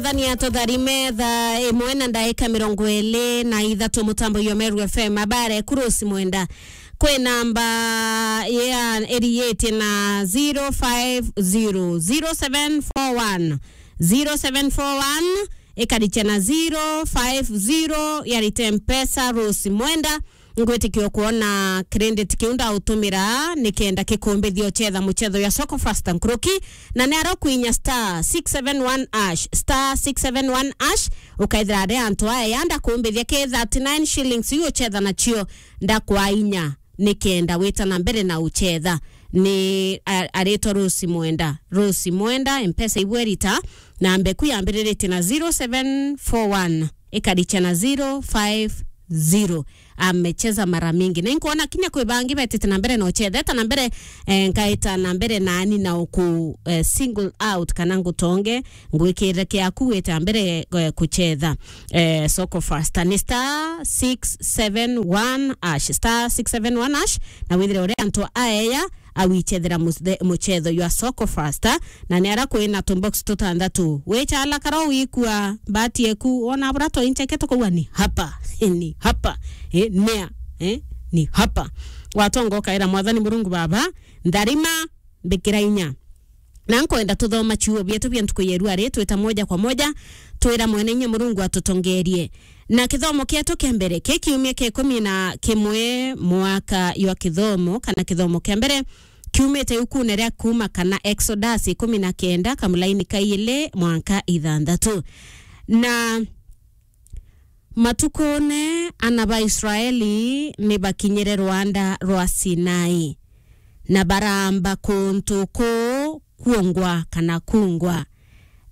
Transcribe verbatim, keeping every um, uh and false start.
Thania tutharime thaa imwe na ndaika mirongo iri na ithatu, mutambo yo Meru F M, abare ku Rose Mwenda. Kwi namba ya iriitie na zero five zero, zero seven four one, zero seven four one, ikarikia na zero five zero, yarite Mpesa Rose Mwenda. Ngwitikia kwona credit kiu ndautumira nikenda kikumbithia uchetha muchetho ya Soko Fasta nkuruki, na ni aro kwinya star six seven one hash, star six seven one hash, ukaithira ari antu aya ndakumbithia ki thirty-nine shillings iu uchetha nacio, ndakwa inya nikenda wita na mbere na uchetha. Ni a-, aritwa Rose Mwenda. Rose Mwenda, Mpesa ibwerita, na mbeku yambiriritie na zero seven four one, ikarikia na zero five zero. Amecheza mara mingi. Na inkwona kinya kwi bangi betite na mbere na uchetha. Eta na mbere, eh, nkaita na mbere nani na uku, eh, single out kana ngutonge, ngwikirire kiaku wite na mbere, eh, kuchetha, eh, Soko Fasta. Ni star six seven one hash, star six seven one hash, na withire uria antu aeya awichethera muthe-, muchetho jwa Soko Fasta, na ni ara kwina tubox tutandatu. Wichala karo wikua mbati eku, ona bura toincheke tukuwa ni hapa, ni hapa, eh, nea, eh, ni hapa. Watonga ukaira Mwathani Murungu Baba, ntharima, mbikira inya. Na nkwenda tuthoma ciugo bietu bia ntuku ya irua ri, twita moja kwa moja, twira Mwene Inya Murungu atutongerie. Na kithomo kietu kia mbere, ki kiumia kia ikumi na kimwe mwaka jwa kithomo, kana kithomo kia mbere, kiumite ikune ria Kuuma kana Exodus ikumi na kenda, kamulaini ka iili mwanka ithanthatu. Na matukune ana ba Israeli ni bakinyire rwanda rwa Sinai, na baramba kuntu kuu kuongwa kana kungwa,